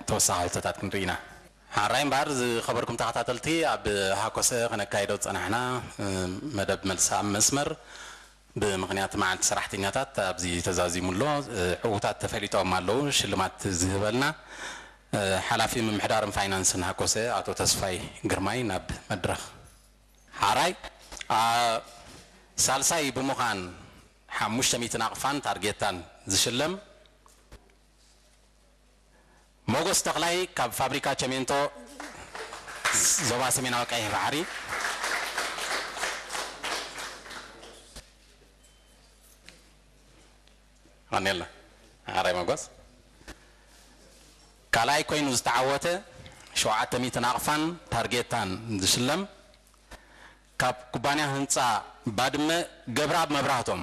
ተወሳኺ ሕቶታት ክንርኢ ኢና። ሓራይ እምበኣር ዝኸበርኩም ተኸታተልቲ፣ ኣብ ሃኮሰ ከነካይዶ ዝጸናሕና መደብ መልሲ ኣብ መስመር ብምኽንያት መዓልቲ ሰራሕተኛታት ኣብዚ ተዛዚሙ ኣሎ። ዕዉታት ተፈሊጦም ኣለዉ። ሽልማት ዝህበልና ሓላፊ ምምሕዳርን ፋይናንስን ሃኮሰ ኣቶ ተስፋይ ግርማይ ናብ መድረኽ። ሓራይ ሳልሳይ ብምዃን ሓሙሽተ ሚእቲ ናቕፋን ታርጌታን ዝሽለም ሞጎስ ተኽላይ ካብ ፋብሪካ ቸሜንቶ ዞባ ሰሜናዊ ቀይሕ ባሕሪ። ኣኔላ ሓራይ ሞጎስ ካልኣይ ኮይኑ ዝተዓወተ ሸውዓተ ሚእቲ ናቕፋን ታርጌታን ዝሽለም ካብ ኩባንያ ህንፃ ባድመ ገብረኣብ መብራህቶም።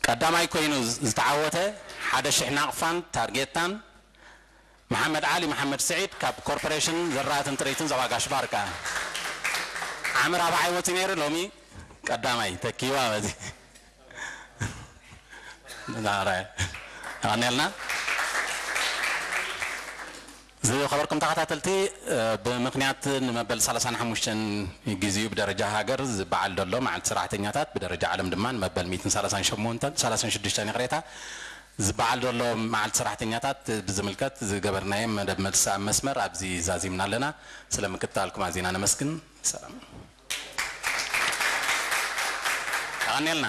ቀዳማይ ኮይኑ ዝተዓወተ ሓደ ሽሕ ናቕፋን ታርጌታን መሓመድ ዓሊ መሓመድ ስዒድ ካብ ኮርፖሬሽን ዘራእትን ጥሪትን ዞባ ጋሽ ባርካ። ዓምር ኣባዓይ ወፂ ነይሩ፣ ሎሚ ቀዳማይ ተኪዋ በዚ። ኣቐኒልና። ዝኸበርኩም ተኸታተልቲ፣ ብምኽንያት ንመበል ሰላሳን ሓሙሽተን ግዜኡ ብደረጃ ሃገር ዝበዓል ዘሎ መዓልቲ ሰራሕተኛታት፣ ብደረጃ ዓለም ድማ ንመበል ሚእትን ሰላሳን ሸሞንተን፣ ሰላሳን ሽዱሽተን ይቕሬታ፣ ዝበዓል ዘሎ መዓልቲ ሰራሕተኛታት ብዝምልከት ዝገበርናዮ መደብ መልሲ ኣብ መስመር ኣብዚ ዛዚምና ኣለና። ስለ ምክትታልኩም ኣዚና ነመስግን። ሰላም። ኣቐኒልና።